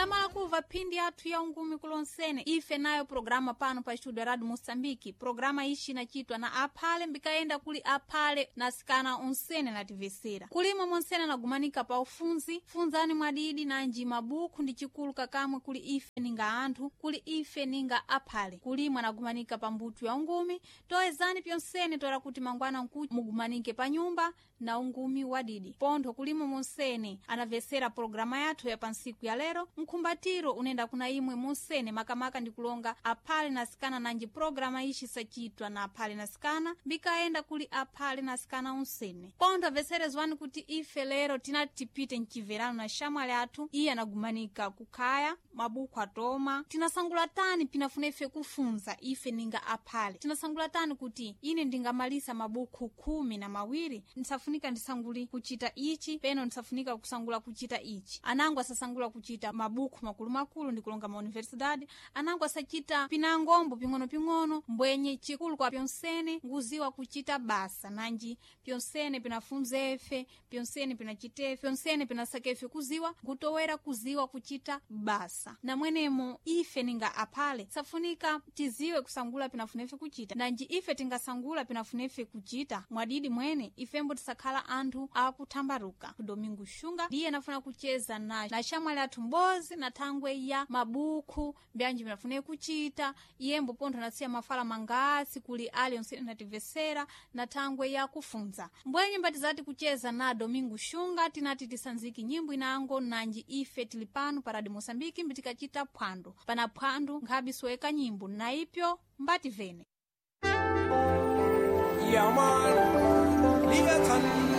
Ndamala kuva phindi yathu ya ungumi kulonsene ife nayo programa pano pa studio Radio Moçambique. Programa ishi inachitwa na aphale mbikaenda kuli aphale na sikana onsene nativesera kulimo monsene nagumanika pa ufunzi funzani mwadidi nanji mabuku ndi chikulu kakamwe kuli ife ninga anthu kuli ife ninga aphale kulimwe anagumanika pa mbuto ya ungumi. Toezani pyonsene toera kuti mangwana nku mugumanike pa nyumba na ungumi wadidi pontho kulimo monsene anavesera programa yathu ya pansiku ya lero. Mkhumbatiro unenda kuna imwe monsene makamaka ndikulonga aphale na sikana nanji programa ishi sachitwa na aphale na sikana mbikaenda kuli aphale na sikana onsene. Pontho veserezwani kuti ife lero tinati tipite mchiverano na shamwali athu iye anagumanika kukhaya mabuku atoma tinasangula tani pinafuna ife kufunza ife ninga aphale tinasangula tani kuti ine ndingamalisa mabuku 12 ndisafunika ndisanguli kuchita ichi peno ndisafunika kusangula kuchita ichi. Anango asasangula kuchita mabuku makulumakulu ndikulonga ma universidade anango asachita pinangombo ping'ono-ping'ono mbwenye chikulu kwa pyonsene nguziwa kuchita basa nanji pyonsene pinafunza efe pyonsene pinachitefe pyonsene pinasakefe kuziwa ngutowera kuziwa kuchita basa namwenemo ife ninga aphale safunika tiziwe kusangula pinafunefe kuchita nanji ife tingasangula pinafunefe kuchita mwadidi mwene ifembo tisakhala anthu akuthambaruka. Domingo Xunga ndiye anafuna kucheza na shamwali athu mbozi na thangwe ya mabuku mbyanji pinafune kuchita iyembo pontho anasiya mafala mangasi kuli ali onse nativesera na thangwe ya kufunza mbwenye mbatizati kucheza na Domingo Xunga tinati tisanziki nyimbo inango nanji ife tili pano pa Radio Moçambique mbitikachita phwando pana phwando nkhabi soeka nyimbo na ipyo mbati vene. Yeah, man. Leviathan.